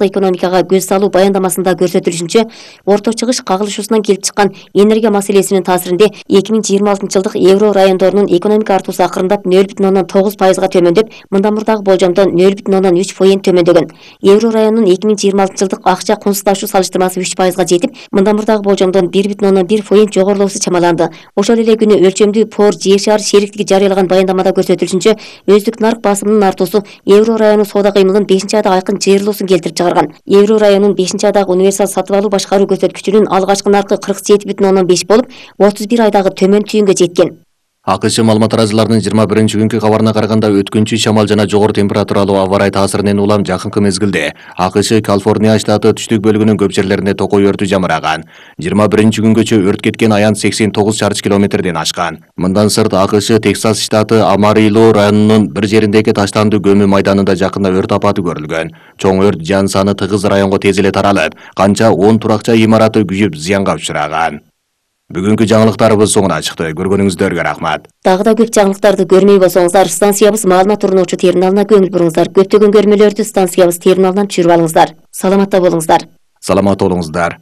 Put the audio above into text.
экономикага көз салуу баяндамасында көрсөтүлүшүнчө, Орто Чыгыш кагылышуусунан келип чыккан энергия маселесинин таасиринде 2026-жылдык евро райондорунун экономика артуусу акырындап 0,9%га төмөндөп, мындан мурдагы болжомдон 0,3% төмөндөгөн. Евро районунун 2026-жылдык акча кунсуздашуу салыштырмасы 3%га жетип, мындан мурдагы болжомдон 1,1% жогорулоосу чамаланды. Ошол эле күнү өлчөмдүү ПОР Жер шаар шериктиги жарыялаган баяндамада көрсөтүлүшүнчө, өздүк нарк басымынын артуусу евро районунун соода кыймылынын 5-айда айкын жыйырылуусун келтирип чыгарган. Евро районунун 5-айдагы универсал сатып алуу башкаруу көрсөткүчүнүн алгачкы наркы 47,5 болуп, 31 айдагы төмөн түйүнгө жеткен. АКШ маалымат тараазыларынын 21-күнкү кабарына караганда, өткүнчү шамал жана жогору температуралуу аба ырайы таасиринен улам жакынкы мезгилде АКШ Калифорния штаты түштүк бөлүгүнүн көп жерлеринде токой өртү жамыраган. 21-күнгөчө өрт кеткен аян 89 чарчы километрден ашкан. Мындан сырт АКШ Тексас штаты Амарило районунун бир жериндеги таштандуу көмүү майданында жакында өрт апаты көрүлгөн. Чоң өрт жан саны тыгыз районго тез эле таралып, канча 10 туракча имараты күйүп зыянга учураган. Бүгүнкү жаңылыктарыбыз соңуна чыкты. Көргөнүңүздөргө рахмат. Дагы да көп жаңылыктарды көрмөй болсоңуздар, станциябыз маалымат орнотчу терминалына көңүл буруңуздар. Көптөгөн көрмөлөрдү станциябыз терминалынан түшүрүп алыңыздар. Саламатта болуңуздар. Саламат болуңуздар.